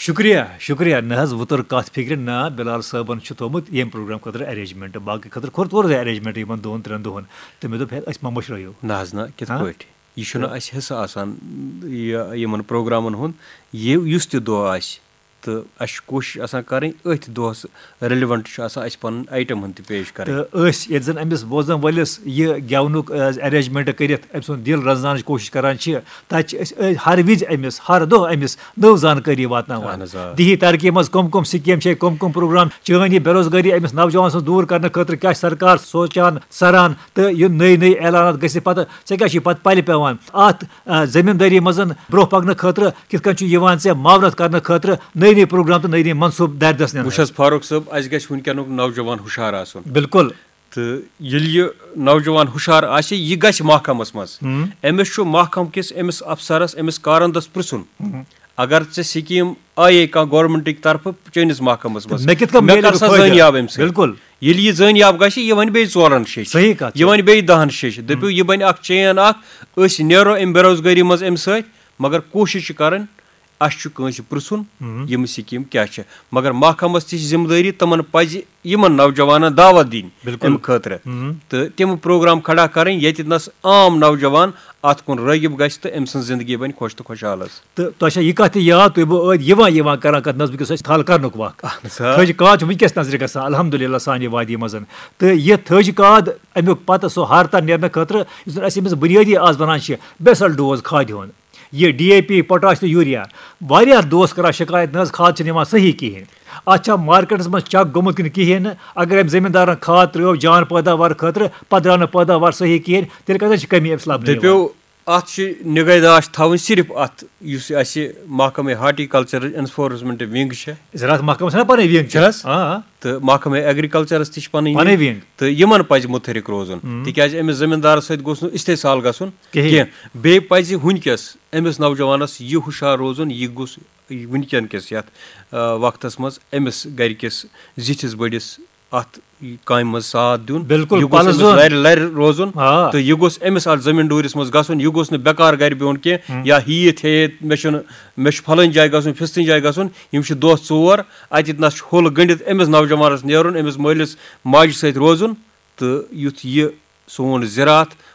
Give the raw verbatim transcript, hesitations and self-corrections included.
شُکریہ، شُکریہ۔ نہ حظ، وۄنۍ توٚر کَتھ فِکرِ، نہ، بِلال صٲبَن چھُ تھوٚومُت ییٚمہِ پروگرام خٲطرٕ ارینجمنٹ، باقٕے خٲطرٕ کوٚر تورٕ ارینجمنٹ یِمَن دۄن ترٛٮ۪ن دۄہَن۔ تہٕ مےٚ دوٚپ، ہے، أسۍ ما مٔشرٲیِو۔ نہ حظ، نہ، کِتھ ہاں؟ پٲٹھۍ؟ یہِ چھُنہٕ تہٕ اَسہِ حِصہٕ آسان، یہِ، یِمَن پروگرامَن ہُنٛد، یہِ، یُس تہِ دۄہ آسہِ۔ تہٕ اَسہِ چھِ کوٗشِش آسان کَرٕنۍ أتھۍ دۄہَس ریلیونٹ چھُ آسان اَسہِ پَنُن آیٹم ہُنٛد تہِ پیش کَرٕنۍ۔ تہٕ أسۍ ییٚتہِ زَن أمِس بوزَن وٲلِس یہِ گٮ۪ونُک، آ، ارینجمنٹ کٔرِتھ أمۍ سُنٛد دِل رَزناونٕچ کوٗشِش کَران چھِ، تَتہِ چھِ أسۍ، أسۍ ہر وِزِ أمِس، ہر دۄہ أمِس نٔو زانکٲری واتناوان۔ اہن حظ، آ۔ دیہی ترقی منٛز کم کم سکیٖم چھِ، کم کم پروگرام، چٲنۍ یہِ بے روزگٲری أمِس نوجوان سٕنٛز دوٗر کرنہٕ خٲطرٕ کیٛاہ چھِ سرکار سونچان، سران، تہٕ یہِ نٔے نٔے اعلانات گٔژھِتھ پتہٕ ژےٚ کیٛاہ چھُے پتہٕ پلہِ پٮ۪وان؟ اتھ، آ، زمیٖندٲری منٛز برٛونٛہہ پکنہٕ خٲطرٕ کِتھ کٔنۍ چھُ یِوان ژےٚ معاونت کرنہٕ خٲطرٕ نٔے نٔے پروگرام تہٕ نٔے نٔے منصوٗبہٕ دارِ دَس نِنہٕ؟ وٕچھ حظ فاروق صٲب، اَسہِ گژھِ وٕنکیٚنُک نوجوان ہُشار آسُن۔ بِلکُل۔ تہٕ ییٚلہِ یہِ نوجوان ہُشار آسہِ، یہِ گژھِ محکمس منٛز۔ ہم۔ أمِس چھُ محکمہٕ کِس أمِس افسرس، أمِس کارندس پرژھُن، ہم۔ اگر ژےٚ سکیٖم آیے کانٛہہ گورنمنٹٕکۍ طرفہٕ چٲنِس محکمس منٛز، مےٚ کِتھ کٔنۍ مےٚ میلہِ کر اَمیُک سا فٲیدٕ؟ زٲنیاب اَمہِ سۭتۍ؟ بِلکُل۔ ییٚلہِ یہِ زٲنیاب گژھِ، یہِ وَنہِ بیٚیہِ ژورن شیٚچھِ۔ صحیح کَتھ یہِ چھِ۔ وَنہِ بیٚیہِ دَہن شیٚچھِ۔ دٔپِو، یہِ بَنہِ اکھ چین اکھ، أسۍ نیرو اَمہِ بے روزگٲری منٛز اَمہِ سۭتۍ، مگر کوٗشِش چھِ کَرٕنۍ، اَسہِ چھُ کٲنٛسہِ پرٛژھُن، ہم۔ یِم سکیٖم کیٛاہ چھِ۔ مگر محکمس تہِ چھِ ذمہٕ دٲری، تِمن پَزِ یِمن نوجوانن دعوت دِنۍ بِلکُل۔ اَمہِ خٲطرٕ۔ ہم۔ تہٕ تِم پروگرام کھڑا کَرٕنۍ، ییٚتہِ نَس عام نوجوان اَتھ کُن رٲغب گژھِ تہٕ أمۍ سٕنٛز زندگی بَنہِ خۄش تہٕ خۄشحال حظ۔ تہٕ تۄہہِ چھا یہِ کَتھ تہِ یاد، تُہۍ بہٕ ٲدۍ یِوان یِوان کَران کَتھ نظمہِ کِس أسۍ تھل کَرنُک وقت؟ اہن سا۔ تھٔج کاد چھِ وٕنکیٚس نظرِ گژھان، الحمدللہ، سانہِ وادی منٛز۔ تہٕ یہِ تھٔج کاد، اَمیُک پَتہٕ سُہ ہارتا نیرنہٕ خٲطرٕ، یُس زَن اَسہِ أمِس بُنیٲدی آز وَنان چھِ، بیسل ڈوز کھادِ ہُنٛد۔ یہِ ڈی اے پی، پوٹاش تہٕ یوٗریا۔ واریاہ دوس کَران شِکایت، نہ حظ، کھاد چھِنہٕ یِوان صحیح کِہیٖنۍ۔ اَتھ چھا مارکیٹَس منٛز چَک گوٚمُت کِنہٕ کِہیٖنۍ نہٕ؟ اگر أمۍ زٔمیٖندارَن کھاد ترٛٲو جان پٲداوار خٲطرٕ، پَتہٕ درٛاو نہٕ پٲداوار صحیح کِہیٖنۍ، تیٚلہِ کَتٮ۪ن چھِ کٔمی أمِس لَبنہٕ یِوان؟ دٔپِو، اَتھ چھِ نِگہداشت تھاوٕنۍ صرف اَتھ، یُس یہِ اَسہِ محکمہٕ ہارٹیکلچر انفورسمنٹ ونگ چھےٚ۔ زراعت محکمَس چھَنا پَنٕنۍ ونگ چھِ؟ چھِ حظ؟ آ، آ۔ تہٕ محکمہٕ ایگریکلچرَس تہِ چھِ پَنٕنۍ پَنٕنۍ ونگ۔ ونگ۔ تہٕ یِمَن پَزِ مُتحرِک روزُن، ہم۔ تِکیٛازِ أمِس زٔمیٖندارَس سۭتۍ گوٚژھ نہٕ استحصال گژھُن کِہیٖنۍ۔ کینٛہہ۔ بیٚیہِ پَزِ وٕنکیٚس أمِس نوجوانَس یہِ ہُشار روزُن، یہِ گوٚژھ وٕنکیٚن کِس یَتھ، آ، وقتَس منٛز أمِس گَرِکِس زِٹھِس بٔڑِس اَتھ کامہِ منٛز ساتھ دیُن۔ بِلکُل، یہِ گوٚژھ أمِس پَلزُن۔ لَرِ لَرِ روزُن۔ آ۔ تہٕ یہِ گوٚژھ أمِس اَتھ زٔمیٖن ڈوٗرِس منٛز گژھُن۔ یہِ گوٚژھ نہٕ بیکار گَرِ بِہُن کینٛہہ، ہم۔ یا ہیٚتھ ہیٚتھ مےٚ چھُنہٕ، مےٚ چھُ فَلٲنۍ جایہِ گژھُن، فِستٲنۍ جایہِ گژھُن۔ یِم چھِ دۄہ ژور، اَتہِ نَس چھُ ہوٚل گٔنٛڈِتھ أمِس نوجوانَس نیرُن، أمِس مٲلِس ماجہِ سۭتۍ روزُن۔ تہٕ یُتھ یہِ سون زِراعت